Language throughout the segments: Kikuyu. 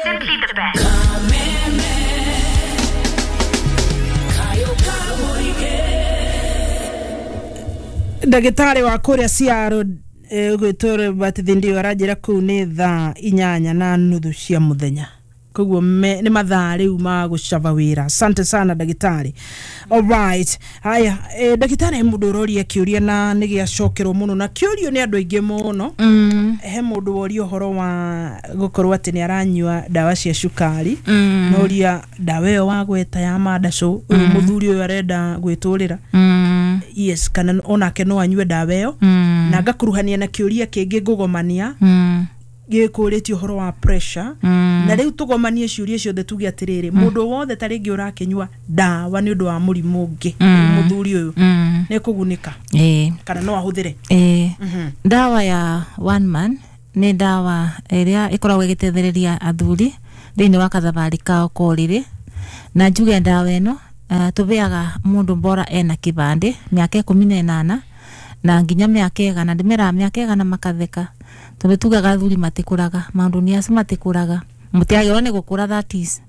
Simply the best. Ndagĩtarĩ wa kũrĩa Ciaro ũgwĩtwo Robert Thindio aranjĩra kũu nĩ thaa 8:30 cia mũthenya, koguo nĩ mathaa rĩu ma gũcaba wĩra. Asante sana, ndagĩtarĩ. Alright, haya, ndagĩtarĩ, he mũndũ ũroria kĩũria na nĩ gĩacokerwo mũno na kĩũrio nĩ andũ aingĩ mũno. He mũndũ woria ũhoro wa gũkorwo atĩ nĩ aranyua ndawa cia cukari. Noria ndawa ĩyo wagweta ya mandacũ, ũyũ mũthuri ũyũ arenda gwĩtũrĩra. Yes, kana onake no anyue ndawa ĩyo? Na ngakuruhania na kĩũria kĩngĩ ngũgomania gĩkũrĩtie ũhoro wa pressure. Na rĩu tũgomanie ciũria ciothe, tuge atĩrĩrĩ, mũndũ wothe ta rĩngĩ ũrakĩnyua ndawa nĩ ũndũ wa mũrimũ ũngĩ, mũthuri ũyũ nĩ kũgunĩka kana no ahũthĩre? Ĩĩ. Ndawa ya One Man nĩ ndawa ĩrĩa ĩkoragwo ĩgĩtethereria athuri thĩinĩ wa kathabarĩ kao ka ũrĩrĩ. Na njuge ndawa ĩno tũbeaga mũndũ bora ena kĩbandĩ, mĩaka 18 na nginya mĩaka 100. Ndĩmeraga mĩaka 100 makatheka, tondũ tugaga athuri matikũraga, maũndũ nĩ acio matikũraga, mũtiagĩrĩirwo nĩ gũkũra, that is.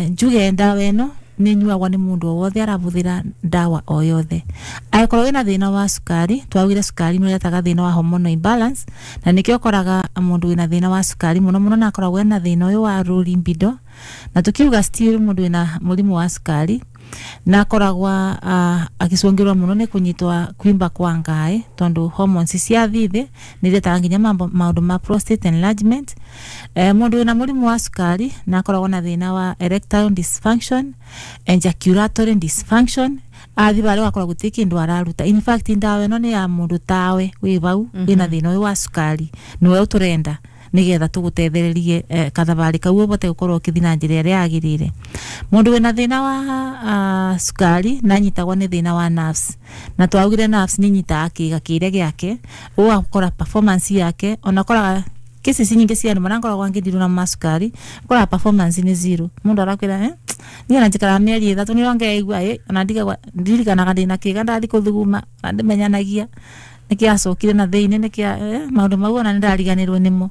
Njuge ndawa ĩno nĩ nyuagwo nĩ mũndũ o wothe arabũthĩra ndawa o yothe. Angĩkorwo wĩna thĩna wa cukari, twaugire cukari nĩ ũretaga thĩna wa hormonal imbalance, na nĩkĩo ũkoraga mũndũ wĩna thĩna wa cukari mũno mũno na akoragwo ena thĩna ũyũ wa low libido. Na tukiuga still mũndũ wĩna mũrimũ wa cukari na akoragwa agĩcũngĩrwo mũno nĩ kũnyitwa kwimba kwa ngaĩ, tondũ hormones cia thithĩ nĩ iretaga nginya maũndũ ma prostate enlargement. Mũndũ wĩna mũrimũ wa cukari na akoragwo na thĩna wa erectile dysfunction, ejaculatory dysfunction, athi barĩa ũgakora gũtirĩ kĩndũ araruta. In fact, ndawa ĩno nĩ ya mũndũ tawe wĩ vau wĩna thĩna ũyũ wa cukari, nĩwe ũtũrenda nigetha tugutethererie kathabarĩ kau ũbote gũkorwo ũkĩthiĩ na njĩra ĩrĩa yagĩrĩire. Mũndũ wĩna thĩna wa cukari na anyitagwo nĩ thĩna wa nerves, na twaugire nerves nĩ inyitaga kĩĩga kĩrĩa gĩake, ũgakora performance yake, ona ũkoraga cases nyingĩ cia andũ marĩa ngoragwo ngĩndirwo na macukari, ũkoraga performance nĩ zero. Mũndũ arakwĩra, "Niĩ ona njikaraga mĩeri 3 nĩrĩo ngeigua ĩ, ona ndigagwa ndirikanaga ndĩna kĩga ndathi kũthuguma, ona ndimenyanagia nĩkĩ acokire na thĩinĩ nĩkĩ maũndũ mau, ona nĩndariganĩrwo nĩmo."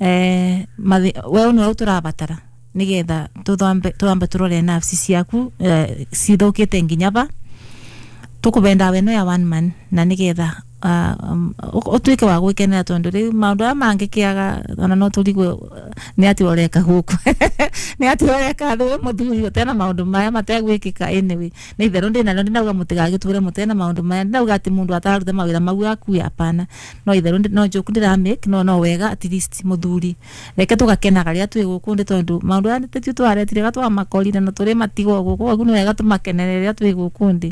We nĩwe tũrabatara nĩgetha twambe tũrore nerves ciaku cithũkĩte nginya va tũkũbe ndawa ĩno ya One Man, na nĩgetha ũtuĩke wa gwĩkenera, tondũ rĩu maũndũ aya mangĩkĩaga ona no tũrigwo nĩ atĩ ũreka gũkũ, nĩ atĩ ũreka thĩ wĩ mũthuri ũtena maũndũ maya mategwĩkĩka. Anyway, nĩ itherũ ndĩnarĩo, ndinauga mũtigagĩtũre mũtena maũndũ maya, ndinauga atĩ mũndũ atararuta mawĩra mau akue, apana. No itherũ no joke ndĩra make, no wega at least mũthuri reke tũgakenaga rĩrĩa twĩ gũkũ ndĩ, tondũ maũndũ aya tĩtio twaretire ga twamakorire na tũrĩ matigwo gũkũ, koguo nĩ wega tũmakenere rĩrĩa twĩ gũkũ ndĩ.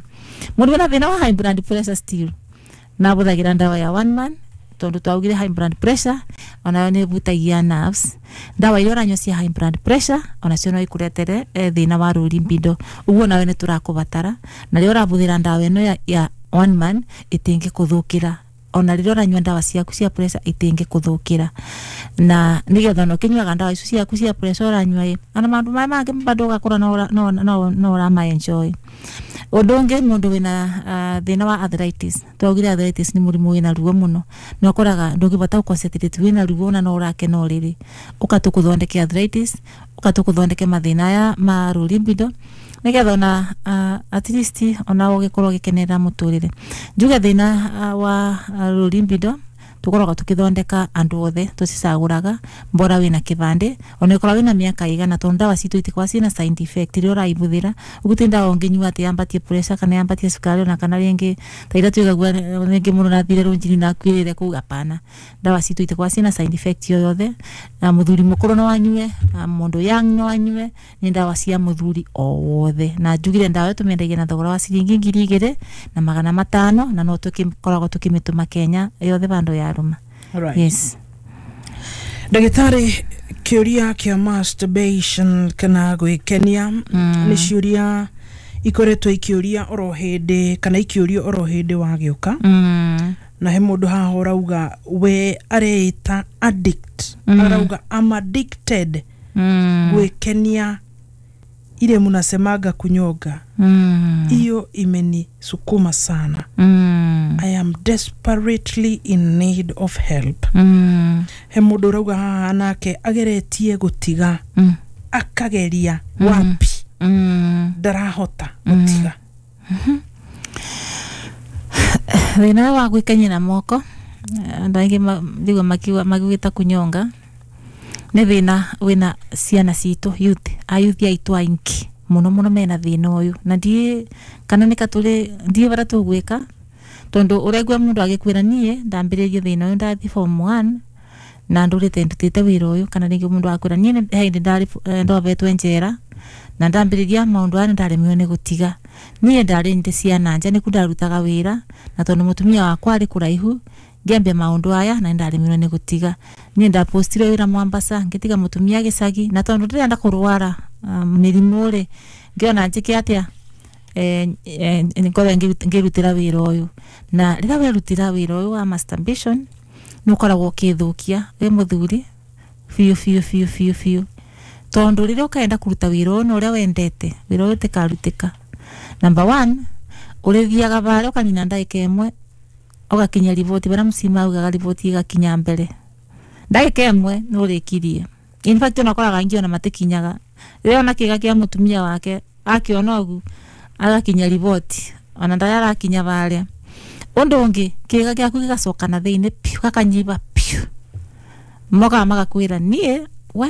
Mũndũ wĩna thĩna wa high blood pressure still na bũthagĩra ndawa ya One Man, tondũ twaugire high blood pressure onayo nĩ ĩbutagia nerves. Ndawa iria ũranyua cia high blood pressure onacio no ikũretere thĩna wa low libido, ũguo nawe nĩ tũrakũbatara. Na rĩrĩa ũrabũthĩra ndawa ĩno ya One Man ĩtingĩkũthũkĩra, ona rĩrĩa ũranyua ndawa ciaku cia pressure itingĩkũthũkĩra, na nĩgetha ona ũkĩnyuaga ndawa icio ciaku cia pressure ũranyua ĩ, ona maũndũ maya mangĩ bado ũgakora no ũrama enjoy. Ũndũ ũngĩ, mũndũ wĩna thĩna wa arthritis, twaugire arthritis nĩ mũrimũ wĩna ruo mũno, na ũkoraga ndũngĩbota gũ-concentrate, wĩna ruo na no ũrakena ũrĩrĩ. Ũka tũkũthondeke arthritis, ũka tũkũthondeke mathĩna aya ma low libido, nĩgetha ona at least ona ũgĩkorwo ũgĩkenerera mũtũrĩre. Njuge thĩna wa low libido tũkoragwo tũkĩthondeka andũ othe, tũcicagũraga bora wĩna kĩbandĩ, ona ĩkorwo wĩna mĩaka igana, tondũ ndawa citũ itikoragwo ciĩna side effect rĩrĩa ũraibũthĩra. Ũguo ti ndawa ũngĩnyua atĩ yambatie pressure kana yambatie cukari, ona kana rĩngĩ ta iria twigagua rĩngĩ mũndũ nathire rũnjini na akuĩrĩre kũu, hapana. Ndawa citũ itikoragwo ciĩna side effect o yothe, na mũthuri mũkũrũ no anyue, na mũndũ young no anyue, nĩ ndawa cia mũthuri o wothe. Na njugire ndawa ĩyo tũmĩendagia na thogora wa ciringi 2500, na no tũkĩkoragwo tũkĩmĩtũma Kenya yothe bandũ yarũma. Alright. Yes. Ndagĩtarĩ, kĩũria kĩa masturbation kana gwĩkenia nĩ ciũria ikoretwo ikĩũria oro hĩndĩ kana ikĩũrio oro hĩndĩ wagĩũka. Na he mũndũ haha ũrauga we areĩta addict, arauga, "I'm addicted gwĩkenia Ile munasemaga kunyonga, hiyo imenisukuma sana. I am desperately in need of help. He mundu urauga haha nake ageretie gutiga, akageria wapi, ndarahota gutiga. Thina wa gwikenia na moko, andu aingi ndigua magiwita kunyonga, ni thina wina ciana citu, youth, ayuthi aitu aingi muno muno mena thina uyu, na ndie kana ni katuri ndie bara tugwika, tondu uraigua mundu agikwira nie ndambiririe thina uyu ndathi form 1 na ndurite ndutite wira uyu, kana ringi mundu akwira nie hindi ndari ndovetwe njera na ndambiriria maundu aya ndaremirwo ni gutiga. Nie ndari ndi ciana nja niku ndarutaga wira, na tondu mutumia wakwa ari kuraihu ngiambia maundu aya na ndaremirwo ni gutiga. Nie ndapostire wira Mombasa ngitiga mutumia gicagi, na tondu ndirenda kurwara mirimu ri ngiona njike atia, ngorwo ngirutira wira uyu. Na rira werutira wira uyu wa masturbation nukoragwo ukithukia wi muthuri biu biu biu biu biu, tondu riria ukaenda kuruta wira uyu na uria wendete, wira uyu utikarutika. Number 1, urithiaga varia ukanina ndagika imwe ugakinya riboti baria mucima augaga riboti igakinya mbere, ndagika imwe nurikirie. In fact onakoraga aingi ona matikinyaga, riria ona kiga kia mutumia wake akiona ugu agakinya riboti ona ndaya arakinya varia. Undu ungi kiga giaku gigacoka na thiini piu, gakanyiba piu, mokaga magakwira nie we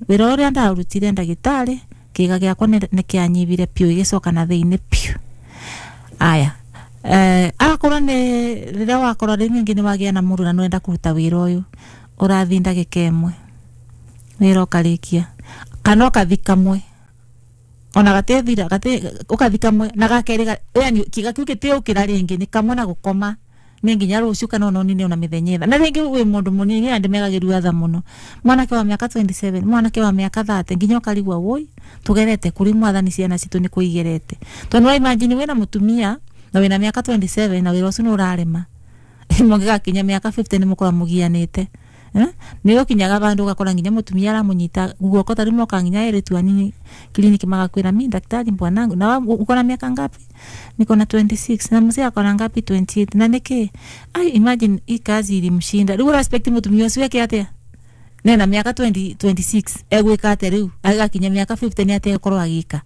wira uria ndarutire ndagitari kiga giakwa ni kianyibire piu, igicoka na thiini piu. Aya, agakorwo ni riria wakorwo ringi ni wagia na mundu na nwenda kuruta wira uyu, urathi ndagika imwe wira ukarikia, kana ukathi kamwe ona gatethira gate ukathi kamwe na gakeri, yani kiga kiu gitiukira ringi ni kamwe na gukoma ni nginya ruciu kana ona nini ona mithenya itha. Na ringi wi mundu munini andi megagirua tha muno, mwanake wa miaka 27, mwanake wa miaka 30, nginya ukarigwa woi tugerete kuri mwathani ciana citu ni kuigerete, tondu wa imagine wina mutumia na wina miaka 27 na wira ucio ni urarema, mungigakinya miaka 50 ni mukorwa mugianite. Ni ukinyaga bandu ugakora nginya mutumia aramunyita guoko tari moka nginya eritu anini kliniki magakwira mi daktari bwanangu na uko na miaka ngapi? Niko na 26. Na mzee akona ngapi? 28. Na niki ai imagine hii kazi ilimshinda. Riu respect mutumia ucio eke atia? Nena miaka 20 26 egwika atia riu agakinya miaka 50 ni atia ekorwo agika?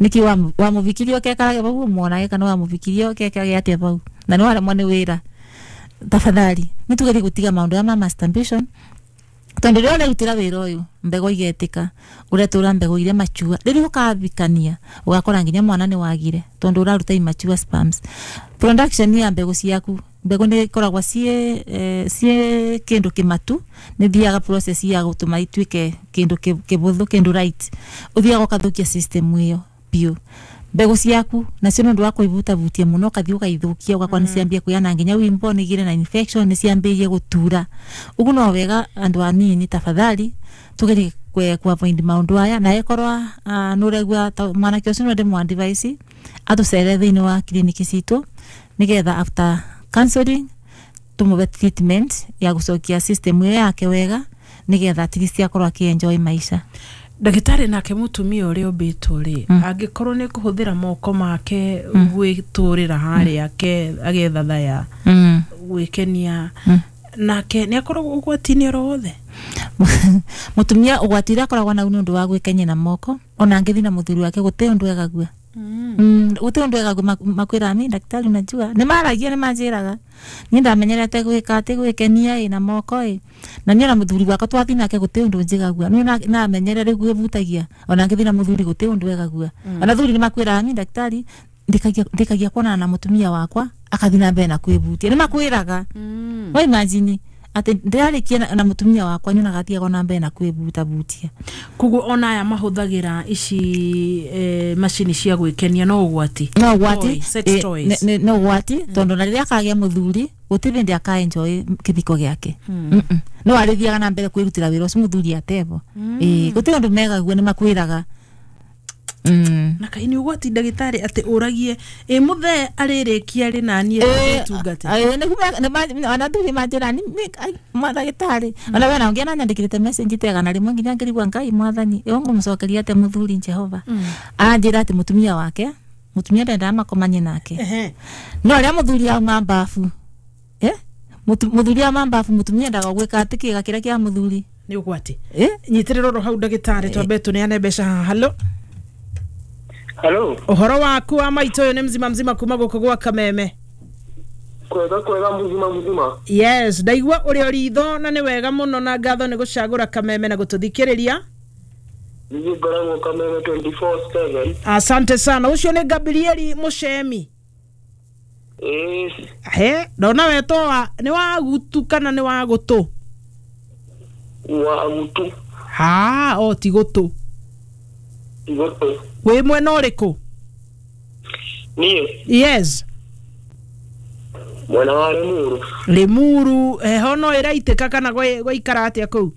Niki wamuvikirie okekarage bau mwanage kana wamuvikirie okekarage atia bau na ni waremwo ni wira. Tafadhali nitugerie gutiga maundu ya masturbation, tondu riria urerutira wira uyu mbegu igetika uretura mbegu iria machua, riria ukathikania ugakora nginya mwana ni wagire tondu uraruta immature sperms. Production ya mbegu ciaku, mbegu ni ikoragwa cie kindu kimatu, ni thiaga process ya gutuma ituike kindu kibuthu, kindu right, uthiaga ukathukia system iyo biu. Mbegu ciaku nacio nundu wa kuivutavutia muno ukathi ukaithukia, ugakora ni ciambia kuyana nginya wimbo ni igire na infection, ni ciambirie gutura ugu. No wega andu anini tafadhali tugerie ku avoid maundu aya, na ekorwa nuregua mwanake ucio no ndimwa advice atucere thiini wa kliniki citu nigetha after counseling tumuve treatment ya gucokia system iyo yake wega nigetha at least akorwo akienjoy maisha. Ndagĩtarĩ, nake mũtumia ũrĩa ũmbĩtwo rĩ, angĩkorwo nĩ kũhũthĩra moko make gwĩtũrĩra harĩa agetha thaya gwĩkenia, nake nĩ akoragwo ũgwati-inĩ oro wothe? Mũtumia ũgwati ũrĩa akoragwo nau nĩ ũndũ wa gwĩkenia na moko, ona angĩthiĩ na mũthuri wake gũtirĩ ũndũ egagua. Gũtirĩ ũndũ egagua, makwĩraga mi daktari unajua nĩ maragia nĩ manjĩraga niĩ ndamenyerete gwĩka atĩ gwĩkenia ĩ na moko ĩ, na niĩ ona mũthuri wakwa twathiĩ nake gũtirĩ ũndũ njigagua, niĩ namenyerera rĩu gwĩbutagia, ona ngĩthiĩ na mũthuri gũtirĩ ũndũ egagua. Ona athuri nĩ makwĩraga mi daktari ndikagia kuonana na mũtumia wakwa akathi na mbere na kwĩbutia, nĩ makwĩraga. Wa imagine ati ndĩrarĩkia na mũtumia wakwa nyonaga athiaga na mbere na kwĩbutabutia. Koguo ona aya mahũthagĩra ici macini cia gwĩkenia no ũgwati? No ũgwati, sex toys. No ũgwati tondũ na rĩrĩa akagĩa mũthuri gũtirĩ hĩndĩ akaenjoy kĩthiko gĩake. No arĩthiaga na mbere kwĩrutĩra wĩra ũcio mũthuri atebo. Gũtirĩ ũndũ megagua, nĩ makwĩraga. Na kai nĩ ũgwati ndagĩtarĩ atĩ ũragie ĩ mũthee arĩrĩkia rĩ naniĩ tungate. Ona thuri manjĩra ndagĩtarĩ ona we na ũngĩ ananyandĩkĩrĩte message tegana rĩmwe nginya ngĩrigwa Ngai mwathani ĩyo ngũmũcokeria atĩa mũthuri Jehova. Anjĩra atĩ mũtumia wake mũtumia ndendaga makomanie nake. No rĩrĩa mũthuri auma mbabu mũthuri auma mbabu mũtumia endaga gwĩka atĩ kĩga kĩrĩa kĩa mũthuri. Nĩ ũgwati. Nyitĩrĩra oro hau ndagĩtarĩ twambe tũneane mbeca haha. Halo. Halo. Ũhoro waku wa maitũ ũyũ nĩ mzima mzima kuma gũkũ gwa Kameme. Kwega kwega mzima mzima. Yes, ndaigua ũrĩ o ritho na nĩ wega mũno na ngatho nĩ gũcagũra Kameme na gũtũthikĩrĩria. Niĩ ngoragwo Kameme 24/7. Asante sana. Ũcio nĩ Gabrieli Mũcemi. He, ndona wetwo wa nĩ wa gutu kana nĩ wa gũtũ? Wa gutu. Ha, o ti gũtũ. Gũtũ. Wĩ mwena ũrĩkũ? Niĩ. Yes. Mwena wa Limuru. Limuru, heho no ĩraitĩka kana gwaikara atĩa kũu?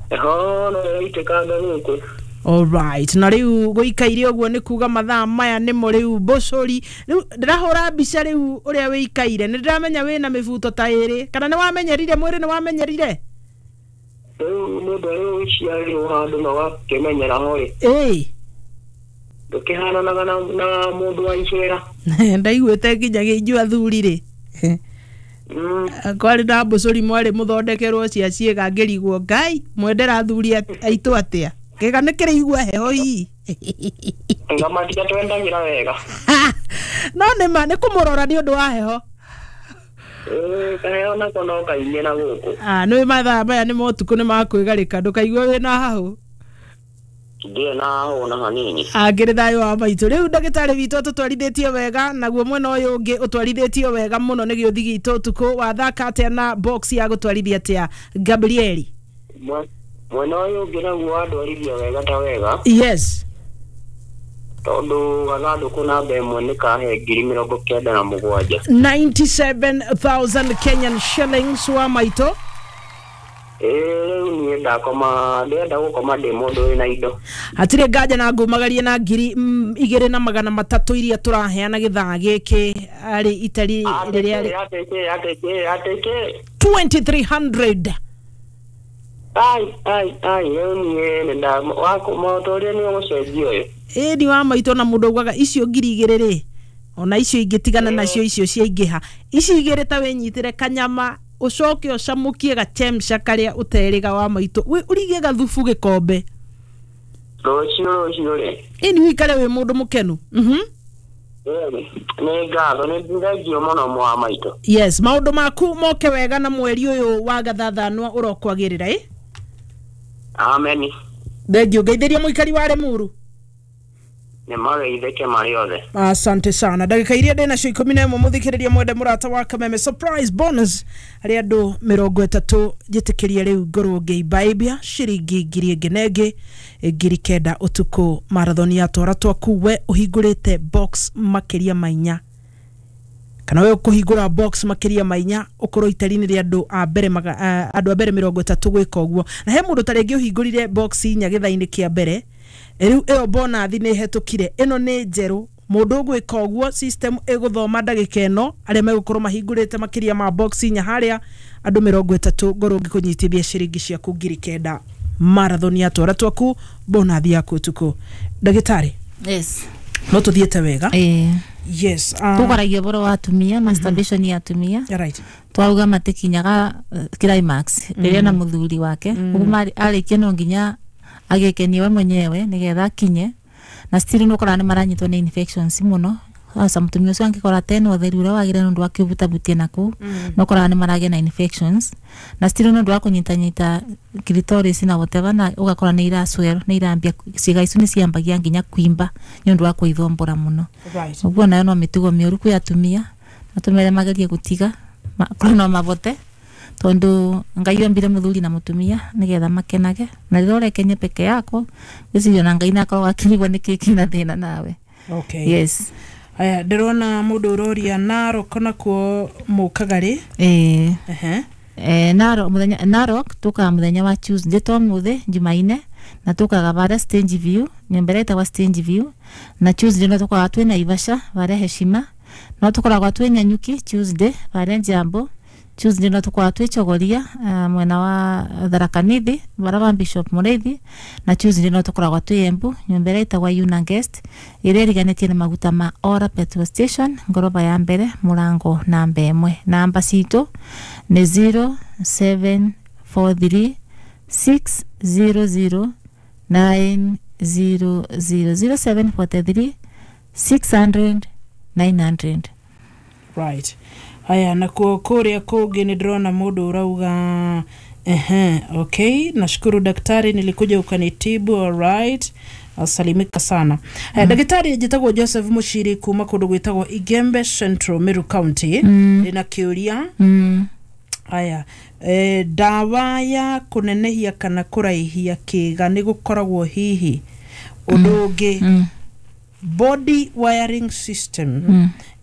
Heho no ĩraitĩkanga gũkũ. Alright, na rĩu gũikaire ũguo nĩ kuga mathaa maya nĩmo rĩu mbũcũri. Rĩu ndĩrahũra mbica rĩu ũrĩa wĩikaire, nĩ ndĩramenya wĩna mĩbuto ta ĩrĩ, kana nĩ wamenyerire mwĩrĩ nĩ wamenyerire? Rĩu mũndũ arĩ ũciarĩirwo handũ na wakĩmenyera ho rĩ. Ĩĩ. Ndũkĩhananaga na mũndũ wa icera. Ndaiguĩte nginya inyuĩ athuri rĩ. Kwarĩ na mbũcũri mwarĩ mũthondekerwo cia ciĩga ngĩrigwo Ngai mwendera athuri aitũ atĩa? Kĩga nĩ kĩraigua heho hihi. Ngamatia twendagĩra wega. No nĩ ma nĩ kũmũrora nĩ ũndũ wa heho. Kaheho nako no kaingĩ na gũkũ. Nĩ mathaa maya nĩ motukũ nĩ makwĩgarĩka ndũkaigue wĩna hahũ. Ndirĩ na hahũ na hanini. Angĩrĩ thayũ wa maitũ. Rĩu ndagĩtarĩ witũ ũtũtwarithĩtie wega naguo mwena ũyũ ũngĩ ũtwarithĩtio wega mũno nĩ gĩũthi gitũ ũtukũ wathaka atĩa na box ya gũtwarithia atĩa Gabrieli? Mwena ũyũ ũngĩ naguo wandwarithia wega ta wega. Yes. Tondũ gathandũkũ namba ĩmwe nĩ kahe 97,000. 97,000 Kenyan shillings wa maitũ. Rĩu niĩ ndakoma ndĩrenda gũkoma ndĩ mũndũ wĩna indo. Hatirĩ nganja na ngumagarie na 2300 iria tũraheana gĩthaa gĩkĩ arĩ itari rĩrĩa atĩkĩ 2300. Ai ai ai rĩu niĩ nĩ ũrĩa nĩ ũgũcenjia ũyũ. Ĩni wa maitũ na mũndũ augaga icio 2000 rĩ ona icio ingĩtigana nacio icio ciaingĩha ici igĩrĩ ta wĩnyitĩre kanyama ũcoke ũcamũkie gachemsha karĩa ũterĩga wa maitũ ũrigie gathubu gĩkombe rũciũ rĩ. Ĩni wĩikare wĩ mũndũ mũkenu. Nĩ ngatho nĩ thengio mũno mwa maitũ. Yes, maũndũ maku moke wega na mweri ũyũ wa gathathanwa ũrokwagĩrĩra ĩ. Amen. Thengio ngeithĩria mũikari wa Limuru. Nĩ mageithĩke marĩ othe. Asante sana. Ndagĩka iria ndĩ nacio 11 mũthikĩrĩria mwende mũrata wa Kameme surprise bonus harĩ andũ 30 njĩtĩkĩrie rĩu ngorwo ngĩimbaibia ciringi 1000 9,000 ũtukũ marathon ya twara twaku we ũhingũrĩte box makĩria ma inya kana we ũkũhingũra box makĩria ma inya ũkorwo itari-inĩ rĩa andũ a mbere andũ a mbere 30 gwĩka ũguo na he mũndũ ta rĩngĩ ũhingũrire box inya gĩthaa-inĩ kĩa mbere rĩu ĩyo bonathi nĩ ĩhetũkire ĩno nĩ njerũ mũndũ ũgwĩka ũguo system ĩgũthoma ndagĩka ĩno arĩa megũkorwo mahingũrĩte makĩria ma box inya harĩa andũ 30 ngorwo ngĩkũnyitithia ciringi ciaku 9,000 marathon ya twara twaku bonathi yaku ũtukũ. Ndagĩtarĩ. Yes. No tũthiĩte wega. Yes. Tũkwaragia ũhoro wa atumia masturbation ya atumia. Right. Twauga matikinyaga climax rĩrĩa na mũthuri wake ũguo arĩkia no nginya agĩkenie we mwenyewe nĩgetha akinye na still nĩ ũkoraga nĩ maranyitwo nĩ infections mũno sasa mũtumia ũcio angĩkora tena ũtheru ũrĩa wagĩrĩire nĩ ũndũ wa kĩbutabutia naku no ũkoraga nĩ maragĩa na infections na still nĩ ũndũ wa kũnyitanyita clitoris na whatever na ũgakora nĩ iraswell nĩ irambia ciĩga icio nĩ ciambagia nginya kuimba nĩ ũndũ wa kwĩthombora mũno. Ũguo nayo no mĩtugo mĩũru kwĩ atumia na tũmere magerie gũtiga korwo no mabote tondu Ngai ombire muthuri na mutumia nigetha makenage na rĩrĩa ũrekenia peke yako gwĩciria na Ngai nakorwo akĩrigwo nĩkĩ kĩna thĩna nawe. Okay. Yes. Aya ndĩrona mũndũ ũroria Narok nakuo mũkaga rĩ? Narok mũthenya Narok tukaga mũthenya wa Tuesday to mũthĩ Jumaine Na tukaga baria Stage View, nyumba ĩrĩa ĩtagwa Stage View. Na Tuesday no tukoragwa twĩ Naivasha baria Heshima. No tukoragwa twĩ Nanyuki Tuesday baria Njambo. Tuesday no tukoragwa twĩ Chogoria, mwena wa Tharaka Nithi bara wa Bishop Mũrĩithi. Na Tuesday no tukoragwa twĩ Embu, nyumba ĩrĩa ĩtagwa Yuna Guest, ĩrĩa ĩriganĩtie na maguta ma Ora Petrol Station, ngoroba ya mbere, mũrango namba 1. Namba citũ nĩ 0743 600 900, 0743 600 900. Right, haya, nakuo kuria kungi nĩ ndĩrona mũndũ ũrauga, ehe, okay, nashukuru daktari, nilikuja ukanitibu. Alright, asalimika sana. Haya, ndagĩtarĩ, njĩtagwo Joseph Mũciri kuma kũndũ gwĩtagwo Igembe Central, Meru County. Ndĩna kĩũria. Aya, ndawa ya kũnenehia kana kũraihia kĩga nĩ gũkoragwo hihi? Ũndũ ũngĩ, body wiring system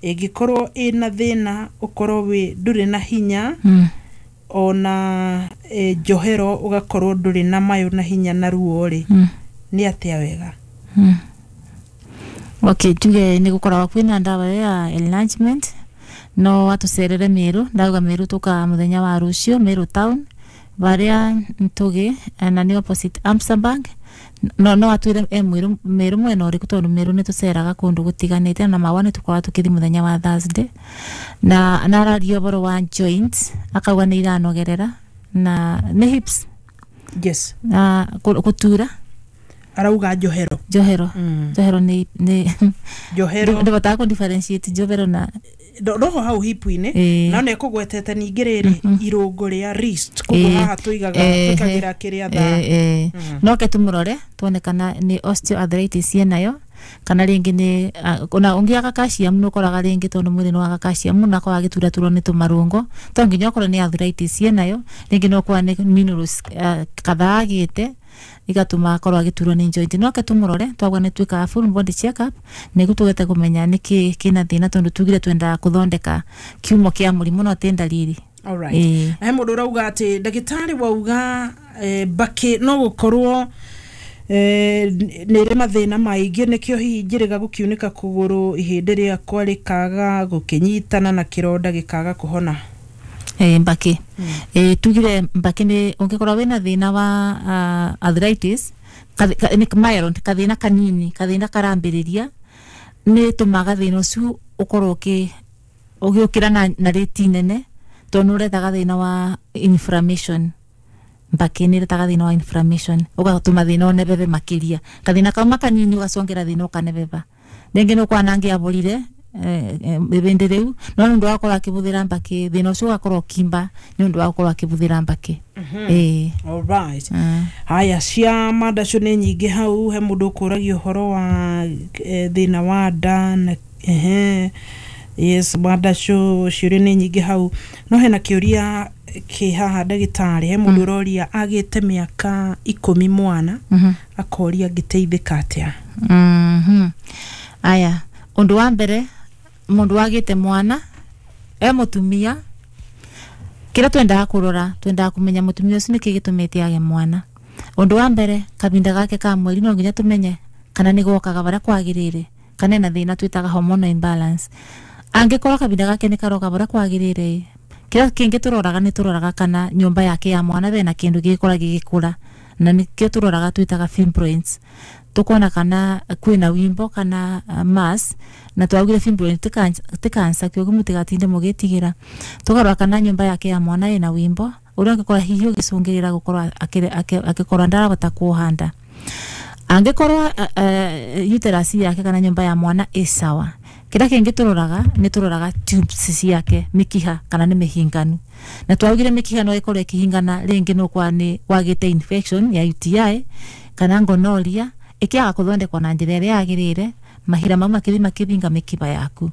ĩngĩkorwo ĩna thĩna, ũkorwo wĩ ndũrĩ na hinya, ona njohero ũgakorwo ndũrĩ na mayũ na hinya na ruo rĩ, nĩ atĩa wega? Okay, tuge nĩ gũkoragwo kwĩna ndawa ĩyo ya enlargement. No atucerere Meru. Ndauga Meru tuka muthenya wa rucio Meru town baria Ntugi, na nĩ opposite Amsterbank. No atwire e Mwiru, Meru mwena ũrĩkũ, tondũ Meru nĩ tũceraga kũndũ gũtiganĩte, na Mawa nĩ tũkoragwo tũkĩthi mũthenya wa Thursday. Na araria ũhoro wa joints, akauga nĩ iranogerera na nĩ hips. Yes. Na gũtura. Arauga njohero. Njohero. Njohero nĩ Njohero. Ndĩbotaga kũ differentiate njohero na roho hau hipu-inĩ. No nĩ ekũgwetete ningĩ rĩrĩ irũngo rĩa wrist, koguo haha tũigaga, twĩkagĩra kĩrĩa thaa. No ke tumũrore tuone kana nĩ osteoarthritis ĩnayo, kana rĩngĩ nĩ ona ũngĩaga calcium nĩ ũkoraga rĩngĩ, tondũ mwĩrĩ nĩ waga calcium na akorwo agĩturaturwo nĩ tũmarũngo. To nginya okorwo nĩ arthritis ĩnayo, rĩngĩ no ũkorwo nĩ minerals kadhaa agĩte igatũma akorwo agĩturwo nĩ joint. No ke tumũrore. Twagwa nĩ twĩkaga full body check up nĩguo tũgete kũmenya nĩkĩ kĩna thĩna, tondũ tugire twendaga kũthondeka kiumo kĩa mũrimũ, no ti ndariri. Alright. Ĩĩ. He mũndũ ũrauga atĩ ndagĩtarĩ wauga, mbakĩ no gũkorwo nĩ ĩrĩ mathĩna maingĩ, nĩkĩo hihi njĩrĩga gũkiunĩka kũgũrũ, ihĩndĩ rĩakwa rĩkaga gũkĩnyitana na kĩronda gĩkaga kũhona. Mbakĩ, tugire mbakĩ nĩ ũngĩkorwo wĩna thĩna wa arthritis, nĩ mild, kathĩna kanini, kathĩna karambĩrĩria, nĩ tũmaga thĩna ũcio ũkorwo ũgĩũkĩra na rĩti nene, tondũ nĩ ũrethaga thĩna wa inflammation. Mbakĩ nĩ ĩretaga thĩna wa inflammation, ũgatũma thĩna ũnebebe makĩria. Kathĩna kauma kanini ũgacongera thĩna ũkanebeba. Rĩngĩ nĩ ũkwana angĩabũrire ibĩndĩ rĩu, no nĩ ũndũ wa gũkorwo akĩbũthĩra mbakĩ, thĩna ũcio ũgakorwo ũkimba nĩ ũndũ wa gũkorwo akĩbũthĩra mbakĩ. Ĩĩ. Alright. Haya, cia mandacio nĩ nyingĩ hau. He mũndũ ũkũragia ũhoro wa thĩna wa nda na ehe, yes, mandacio ciũria nĩ nyingĩ hau, no hena kĩũria kĩ haha, ndagĩtarĩ. He mũndũ ũroria agĩte mĩaka 10 mwana, akoria angĩteithĩka atĩa. Aya, ũndũ wa mbere, mũndũ wagĩte mwana e mũtumia, kĩrĩa twendaga kũrora, twendaga kũmenya mũtumia ũcio nĩkĩ gĩtũmĩte age mwana. Ũndũ wa mbere, kahinda gake ka mweri no nginya tũmenye kana nĩ gokaga barĩa kwagĩrĩire, kana ena thĩna twĩtaga hormonal imbalance. Angĩkorwo kahinda gake nĩ karoka barĩa kwagĩrĩire, kĩrĩa kĩngĩ tũroraga, nĩ tũroraga kana nyũmba yake ya mwana bena kĩndũ gĩgĩkũra gĩgĩkũra, na nĩkĩo tũroraga twĩtaga fibroids, tukona kana kwĩna wimbo kana mass. Na twaugire fibroid ti cancer, kĩoguo mũtigatinde mũgĩtigĩra. Tũkarora kana nyũmba yake ya mwana ĩna wimbo ũrĩa ũngĩkorwo hihi ũgĩcũngĩrĩra gũkorwo akĩkorwo ndarahota kuoha nda. Angĩkorwo uterus yake kana nyũmba ya mwana ĩ sawa, kĩrĩa kĩngĩ tũroraga, nĩ tũroraga tubes ciake, mĩkiha, kana nĩ mĩhinganu. Na twaugire mĩkiha no ĩkorwo ĩkĩhingana rĩngĩ no kwa nĩ wagĩte infection ya UTI kana gonorrhea, ĩkĩaga kũthondekwo na njĩra ĩrĩa yagĩrĩire, mahira mau makĩthi makĩthinga mĩkiha yaku.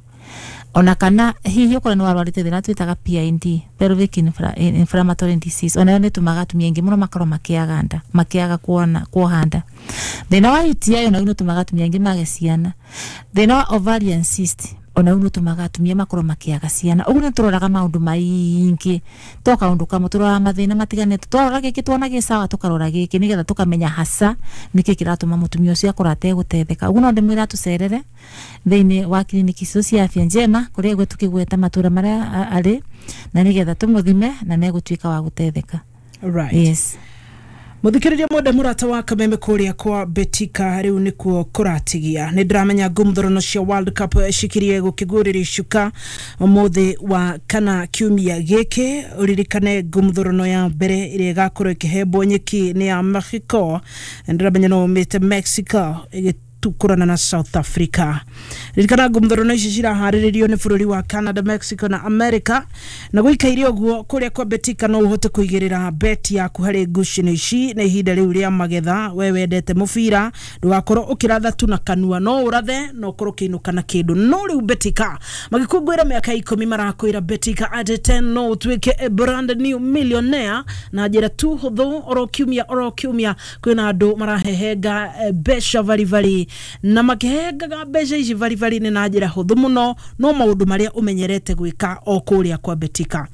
Ona kana hihi ũkorwo nĩ warwarĩte thĩna twĩtaga PID, pelvic inflammatory disease, onayo nĩ ĩtũmaga atumia aingĩ mũno makorwo makĩaga nda, makĩaga kuona kuoha nda. Thĩna wa UTI onaguo nĩ ũtũmaga atumia aingĩ mage ciana. Thĩna wa ovarian cyst. Ona u nutumaga atumia makorwo makiaga ciana. Uguo nituroraga maundu maingi to kaundu kamwe, turoraga mathina matiganite, twarora giki tuona gi sawa, tukarora giki nigetha tukamenya hasa niki kiratuma mutumia ucio akorwo ategutetheka. Uguo no ndimwira tucerere thiini wa kiriniki icio cia Afya Njema kuria igwe tukigweta matura maria ari, na nigetha tumuthime na megutuika wa gutetheka. Right. Yes. Muthikiriria mwende murata wa Kameme kuria kwa Betika riu nikuo kuratigia. Ni ndiramenya ngumthurano cia World Cup cikirie gukigurira icuka umuthi wa kana kiumia giki. Uririkane ngumthurano ya mbere iria igakorwo ikihembwo nyeki ni ya Mexico. Ndiramenya no umite Mexico igitukurana na South Africa. Ririkana ngumthurano ici ciraharĩrĩrio nĩ bũrũri wa Canada, Mexico na America. Na gũikaire ũguo kũrĩa kwa Betika no ũhote kũigĩrĩra bet yaku harĩ ngucanio ici na ihinda rĩu rĩa magetha. We wendete mũbira ndũgakorwo ũkĩratha tu na kanua, no ũrathe no ũkorwo ũkĩinũka na kĩndũ. No rĩu Betika magĩkũngũĩra mĩaka 10 marakwĩra Betika at 10 no ũtuĩke a brand new millionaire na njĩra tu hũthũ. Oro kiumia oro kiumia kwĩna andũ marahehenga mbeca baribari, na makĩhengaga mbeca ici baribari nĩ na njĩra hũthũ mũno, no maũndũ marĩa ũmenyerete gwĩka o kũrĩa kwa Betika.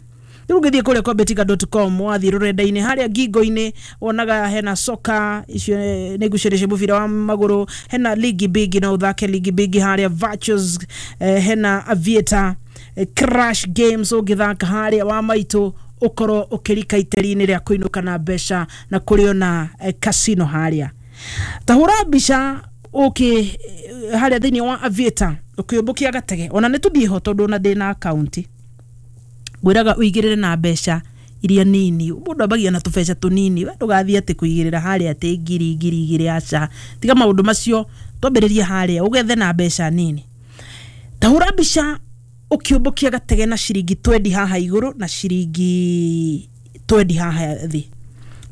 Rĩu ũngĩthiĩ kũrĩa kwa betika.com, wathiĩ rũrenda-inĩ harĩa ngingo-inĩ wonaga hena soka icio nĩ ngucanio cia mũbira wa magũrũ, hena ligi bigi no ũthake ligi bigi harĩa virtues, hena aviator, crash games ũngĩthaka harĩa wa maitũ ũkorwo ũkĩrika iteri-inĩ rĩa kũinũka na mbeca, na kũrĩ ona casino harĩa. Tahũra mbica ũkĩ harĩa thĩinĩ wa aviator ũkĩũmbũkia gatege, ona nĩ tũthiĩ ho tondũ ona ndĩ na akaunti. Ngwĩraga ũigĩrĩre na mbeca iria nini, mũndũ ambagia na tũbeca tũnini, we ndũgathiĩ atĩ kũigĩrĩra harĩa atĩ ngiri ngiri igĩrĩ, aca, tiga maũndũ macio, twambĩrĩrie harĩa ũgethe na mbeca nini. Tahũra mbica ũkĩũmbũkia gatege na ciringi 20 haha igũrũ na ciringi 20 haha thĩ,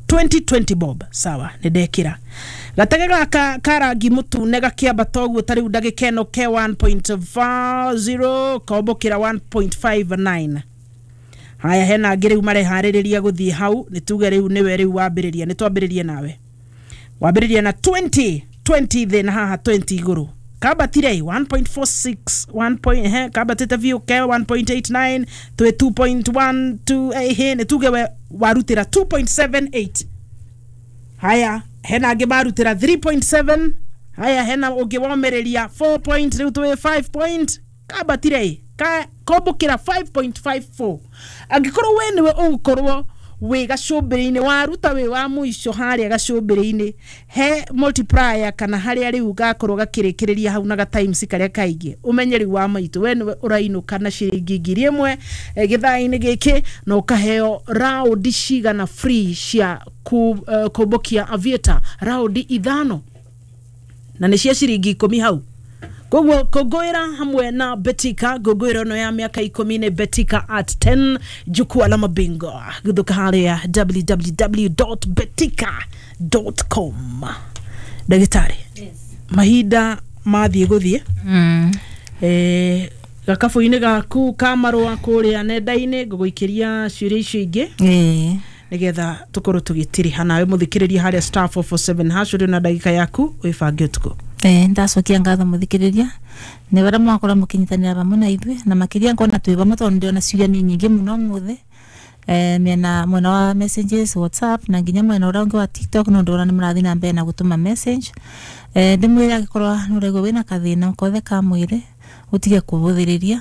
20 bob, sawa, nĩ ndekĩra gatege gaka ka rangi mũtune gakĩambata ũguo ta rĩu ndagĩka ĩno ke 1.40 kombũkĩra 1.59. Haya, hena angĩ rĩu mareharĩrĩria gũthiĩ hau, nĩ tuge rĩu nĩwe rĩu wambĩrĩria, nĩ twambĩrĩrie nawe. Wambĩrĩria na 20 20 thĩ na haha 20 igũrũ. Kambatire 1.46 1 he kambatĩte biũ ke 1.89 twĩ 2.12, ehe nĩ tuge we warutĩra 2.78. Haya, hena angĩ marutĩra 3.7. Haya, hena ũngĩ womĩrĩria 4 point, rĩu twĩ 5 point. Kambatire kombũkĩra 5.54. Angĩkorwo we nĩwe ũgũkorwo wĩ gacũmbĩrĩ-inĩ, waruta wĩ wa mũico harĩa gacũmbĩrĩ-inĩ, he multiplier kana harĩa rĩu gakorwo gakĩrĩkĩrĩria hau na ga times karĩa kaingĩ, ũmenye rĩu wa maitũ we nĩwe ũrainũka na ciringi 1000 gĩthaa-inĩ gĩkĩ, na ũkaheo raundi cigana free cia kũmbũkia aviator, raundi 5 na nĩ cia ciringi 10 hau. Koguo kũngũĩra hamwe na Betika, ngũngũĩro ĩno ya mĩaka 10 nĩ Betika at 10, jukwaa la mabingwa gũthũka harĩa www.betika.com. Ndagĩtarĩ, mahinda mathiĩ gũthiĩ gakabũ-inĩ gaku ka marũa kũrĩa nenda-inĩ, ngũgũikĩria ciũria icio ingĩ nĩgetha tũkorwo tũgĩtiriha nawe mũthikĩrĩria harĩa star 447 hash ũrĩ na ndagĩka yaku wĩbange ũtukũ. Ndacokia ngatho muthikiriria ni baria mwakorwo mukinyitanira vamwe na ithuĩ, na makiria ngona twi vamwe tondu ndĩrona ciũria ni nyingĩ mũno mũthĩ, miena mwena wa messages WhatsApp na nginya mwena ũrĩa ũngĩ wa TikTok, no ndĩrona nĩ mũrathiĩ na mbere na gũtũma message. Ndĩmwĩre angĩkorwo nĩ ũraigua wĩna kathĩna kothe ka mwĩrĩ ũtige kũbũthĩrĩria.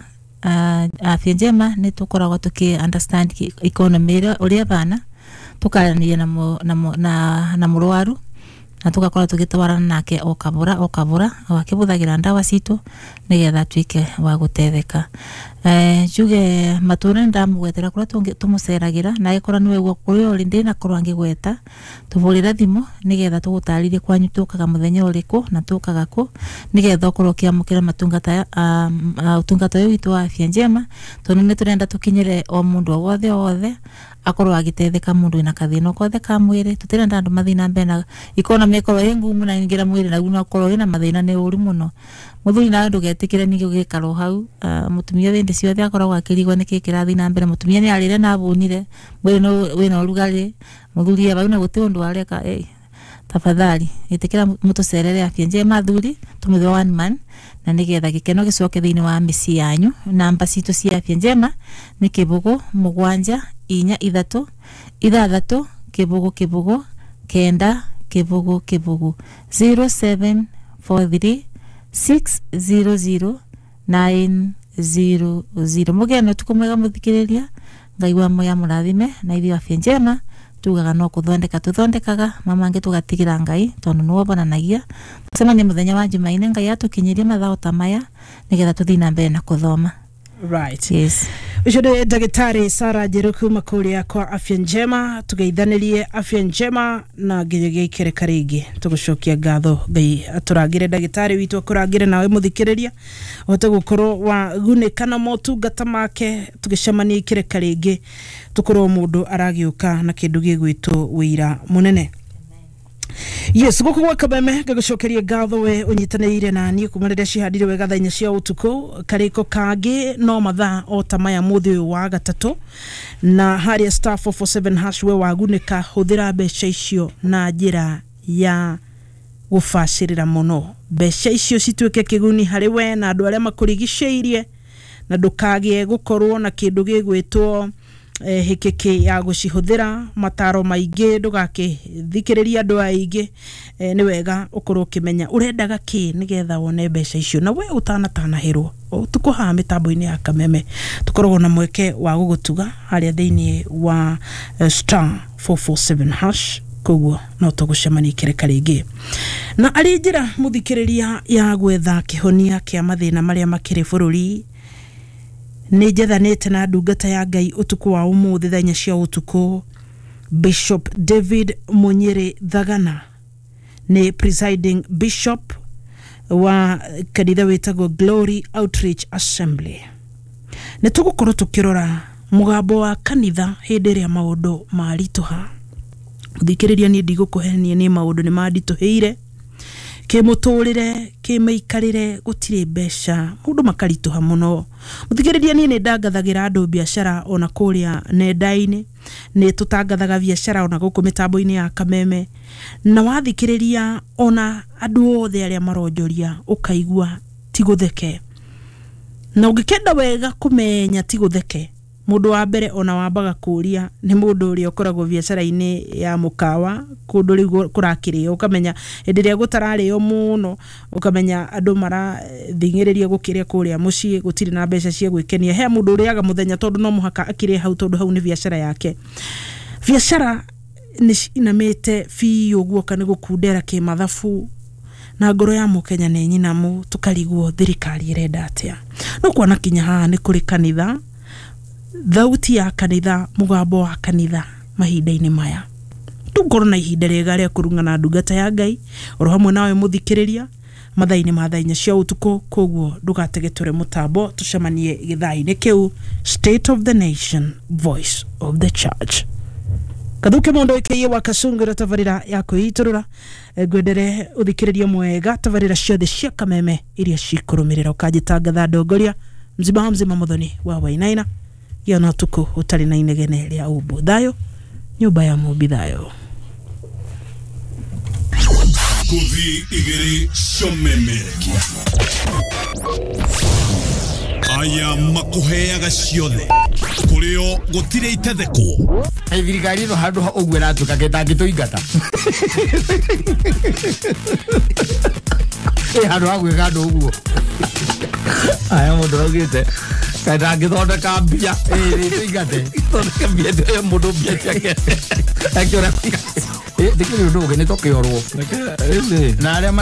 Afya Njema nĩ tũkoragwo tũkĩ understand economy ũrĩa ĩbana, tũkaranĩria na mũrwaru na tugakorwo tugitwarana nake o kabura o kabura o akibuthagira ndawa citu nigetha atuike wa gutetheka. Njuge matura ndamugwetera kuria tumuceragira na agikorwo niwe guo kuria uri ndina korwo angigweta tuvurira thimu nigetha tugutaririe kwanyu tukaga muthenya uriku na tukaga ku nigetha ukorwo ukiamukira matungata utungata uyu witu wa Afya Njema, tondu ni turenda tukinyire o mundu o wothe o wothe akorwo agitetheka mundu wina kathina kothe ka mwiri. Tutirenda andu mathii na mbere na economy ikorwo ĩ ngumu na ingira mwiri na no akorwo wina mathina ni uru muno. Muthuri nawe ndugetikire ningi ugikara hau, mutumia windi ciothe akoragwo akirigwo niki kirathi na mbere, mutumia ni arire na abunire mwiri no wina urugari, muthuri bau na guti undu areka. Tafadhali itikira mutucerere Afya Njema athuri tumuthe one man na nigetha gikeno gicoke thiini wa mĩciĩ yanyu. Namba citũ cia Afya Njema nĩ 0 7 4 3 6 0 0 9 0 0 0743 600 900. Mugeno tuko mwega muthikiriria, Ngai wa moya murathime na ithuĩ Afya Njema tugaga no kuthondeka tuthondekaga mamange tugatigira Ngai tondu niwe bonanagia. Tucemanie muthenya wa Jumaine Ngai atukinyirie mathaa ta maya nigetha tuthii na mbere na kuthoma. Right. Yes. Ucio nĩ ndagĩtarĩ Sarah Njeru kuma kũrĩa kwa Afya Njema. Tũgeithanirie Afya Njema na nginyagia ikereka rĩngĩ tũgũcokia ngatho. Ngai atũrangĩre ndagĩtarĩ witũ, akũrangĩre nawe mũthikĩrĩria ũhote gũkorwo wagunĩka na motungata make. Tũgĩcemania ikereka rĩngĩ tũkorwo mũndũ aragĩũka na kĩndũ gĩgwĩtwo wĩira mũnene. Yes, guku gwa Kameme ngagũcokeria ngatho we ũnyitanĩire na niĩ kuma rĩrĩa cihandire wega thaa 4 cia ũtukũ. Karĩko kangĩ no mathaa o ta maya mũthĩ ũyũ wa gatatũ, na harĩa star 447 hash we wagunĩka, hũthĩra mbeca icio na njĩra ya gũbacĩrĩra mũno. Mbeca icio cituĩke kĩguni harĩ we na andũ arĩa makũrigicĩirie, na ndũkagĩe gũkorwo na kĩndũ gĩgwĩtwo hĩkĩkĩ ya gũcihũthĩra. Mataro maingĩ ndũgakĩthikĩrĩria andũ aingĩ. Nĩ wega ũkorwo ũkĩmenya ũrendaga kĩ nĩgetha wone mbeca icio na we ũtanatanahĩrwo. Ũtukũ haha mĩtambo-inĩ ya Kameme tũkoragwo na mweke wa gũgũtuga harĩa thĩinĩ wa star 447 hash, koguo no tũgũcemania ikereka rĩngĩ. Na arĩ njĩra mũthikĩrĩria ya gwetha kĩhonia kĩa mathĩna marĩa makĩrĩ bũrũri, nĩ njethanĩte na ndungata ya Ngai ũtukũ wa ũmũthĩ thaa 4 cia ũtukũ, Bishop David Munyere Thagana nĩ presiding bishop wa kanitha wĩtagwo Glory Outreach Assembly. Nĩ tũgũkorwo tũkĩrora mũgambo wa kanitha hĩndĩ ĩrĩa maũndũ maritũha. Mũthikĩrĩria, niĩ ndigũkũhenia, nĩ maũndũ nĩ manditũhĩire kĩmũtũrĩre kĩmĩikarĩre, gũtirĩ mbeca, maũndũ makaritũha mũno. Mũthikĩrĩria, niĩ nĩ ndangathagĩra andũ biacara ona kũrĩa nenda-inĩ, nĩ tũtangathaga biacara ona gũkũ mĩtambo-inĩ ya Kameme, na wathikĩrĩria ona andũ othe arĩa maronjoria ũkaigua ti gũtheke. Na ũngĩkenda wega kũmenya ti gũtheke, mũndũ wa mbere ona wambaga kũria nĩ mũndũ ũrĩa ũkoragwo biacara-inĩ ya mũkawa kũndũ rĩu kũrakĩrĩo, ũkamenya hĩndĩ ĩrĩa gũtararĩo mũno, ũkamenya andũ marathing'ĩrĩria gũkĩrĩa kũrĩa mũciĩ, gũtirĩ na mbeca cia gwĩkenia. He mũndũ ũrĩaga mũthenya tondũ no mũhaka akĩrĩe hau, tondũ hau nĩ biacara yake. Biacara nĩ cinamĩte biũ guoka nĩ gũkundera kĩmathabu, na ngoro ya mũkenya nĩ nyinamu, tũkarigwo thirikari ĩrenda atĩa. No kuona kinya haha nĩ kũrĩ kanitha, thauti ya kanitha, mũgambo wa kanitha mahinda-inĩ maya. Tũngorwo na ihinda rĩega rĩa kũrung'ana ndungata ya Ngai oro hamwe nawe mũthikĩrĩria mathaa-inĩ ma thaa 4 cia ũtukũ. Koguo ndũgatege tũre mũtambo, tũcemanie gĩthaa-inĩ kĩu. State of the Nation, Voice of the Church. Kathuke mũndũ ĩkĩiye wa Kasungura, tabarĩra ya kwĩitũrũra. Ngwendere ũthikĩrĩria mwega tabarĩra ciothe cia Kameme iria cikũrũmĩrĩra. Ũkanjĩtangatha ndongoria mzima mzima mũthoni wa Wainaina gĩa na ũtukũ ũtarĩ na inegene rĩa ũmbũ. Thayũ nyũmba ya mũmbi, thayũ. Kuthi igiri cionemerekia aya makuheaga ciothe kurio gutire itethekwo. Thirikari ĩno handũ ha ũguo ĩratuĩka gĩtangĩtũingata ĩ handũ ha gwĩka andũ ũguo. Aya mũndũ augĩte kaĩ ndangĩthondeka mbia ĩtũingate thondeke mbia ĩyo mũndũ mbia ciake akĩũra ndĩkĩrĩ ũndũ ũngĩ nĩ tũkĩorwo na arĩa